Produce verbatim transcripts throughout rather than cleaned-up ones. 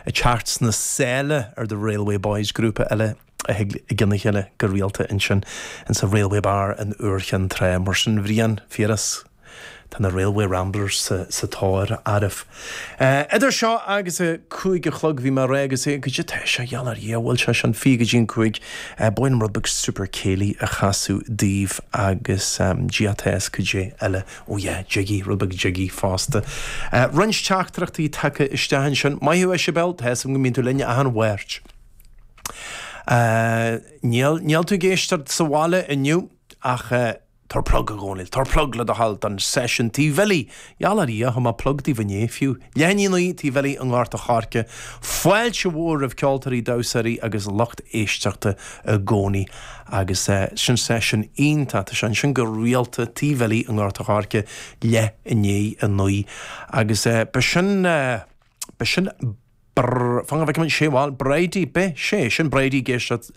ag teacht sna sála ar The Railway Boys grúpa eile a thig i gcionn a chéile go rialta ansin insa Railway Bar in Iúr Chinn Trá mar sin Bhriain Piaras Tá na Railway Ramblers sa, sa tóir oraibh. Uh, idir seo agus a cúig a chlog bhí mé ré agus é go tá sé gheall ar Dhia bhfuil sé sin fiche go dtí an cúig uh, ba mhaith liom rud beag super céilí a chasadh daoibh agus um, GTS cad é eile ó yeah, jiggy rud beag jiggy fosta. Uh, Roinnt teachtaireachtaí tagtha isteach ansin Maith thú Isabel tá go mbíonn tú linn achan Mháirt. Uh, níl níl tú ag éisteacht sa bhaile inniu ach uh, Tar plug a Dhónaill, tar plug le do thoil don session Tí Bhilly, Gheall ar Dhia má plug daoibh inné fiú. Leníí Tí Bhilly an nGort a' Choirce, Fáilte mhór roimh ceoltóirí damhsóirí agus lucht éisteachta i gcónaí agus uh, sin session iontach sin sin go rialta Tí Bhilly an nGort a' Choirce leath i ndiaidh a naoi agus uh, ba sin uh, ba sin Fan bheith sé bhil Brady be sé sin Brady ag éisteacht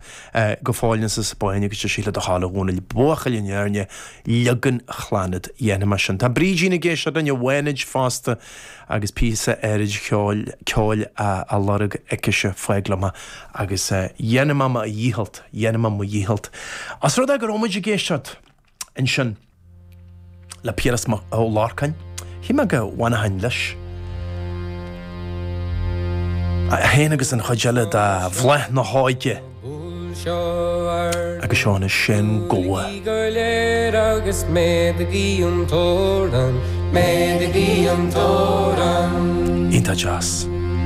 go fóill sa Spáinn agus sí le do thoil a Dhónaill buachaill in airne legan chláid dhéanamh sin. Tá Brídín ag éisteacht an bhainid fosta agus píosa áirid ceoil ceoil a lorg aici fáglama agus dhéanfaidh mé mo dhícheall dhéanfaidh mé mo dhícheall. As rud é go raibh muid ag éisteacht ansin le Piaras Ó Lorcáin, Chi me go bhhain leis. Féin agus an chuid eile de Bhláth na hÓige agus seo na sin goa. Go léir agus méadaigí an torann, méadaigí an torann. Iontach deas.